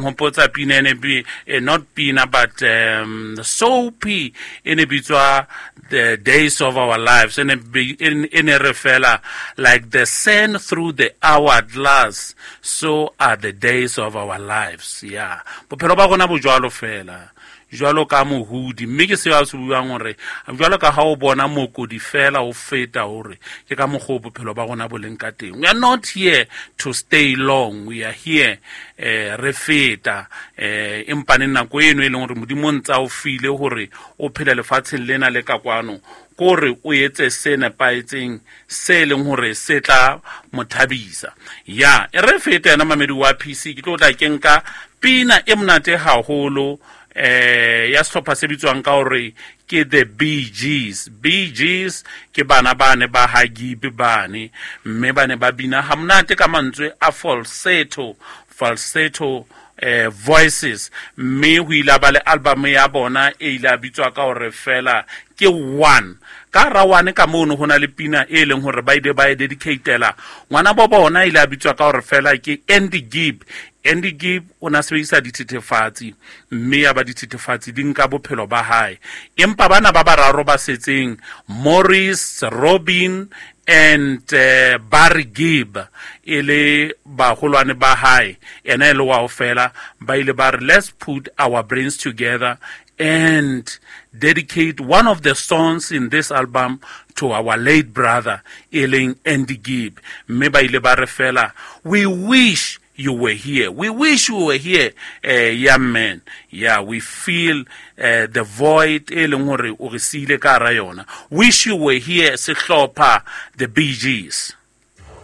Hopotsa pina ene not pina but soapy e ne bitswa The Days of Our Lives, e ne re fela, "Like the sand through the hourglass, so are the days of our lives." Yeah, bophelo ba rona bo jwalo fela, jwalo ka mohudi, mme ke seo a se buang gore jwalo ka ha o bona mokodi fela o feta, hore ke ka mokgwa o bophelo ba rona bo leng ka teng. We are not here to stay long, we are here re feta, empaneng nako eno e leng hore Modimo o ntse a o file hore o phele lefatsheng lena le ka kwano, kore o etse se nepahetseng se leng hore se tla mo thabisa. Ya e re fete yena mamedi wa PC, ke tlo tla ke nka pina e monate haholo ya sehlopha se bitswang ka hore ke the Bee Gees. Bee Gees ke bana bane ba ha Gibb bane, mme ba ne ba bina ha monate ka mantswe a falsetto, falsetto voices, mme ho ile ba le album ya bona e ile a bitswa ka hore fela ke One. Ka hara One ka mono ho na le pina e leng hore ba ile ba e dedicatela ngwana bo bona, ile a bitswa ka hore fela ke Andy Gibb. Andy Gibb o na sebedisa dithethefatsi, mme ya ba dithethefatsi di nka bophelo ba hae, empa bana ba bararo ba setseng, Maurice, Robin and Barry Gibb, e le baholwane ba hae, ena e le wa fela, ba ile ba re, "Let's put our brains together and dedicate one of the songs in this album to our late brother," e leng Andy Gibb. Mme ba ile ba re fela, "We wish you were here. We wish you were here, young man. Yeah, we feel the void e leng hore o re siile ka hara yona." Wish You Were Here, sehlopha the Bee Gees.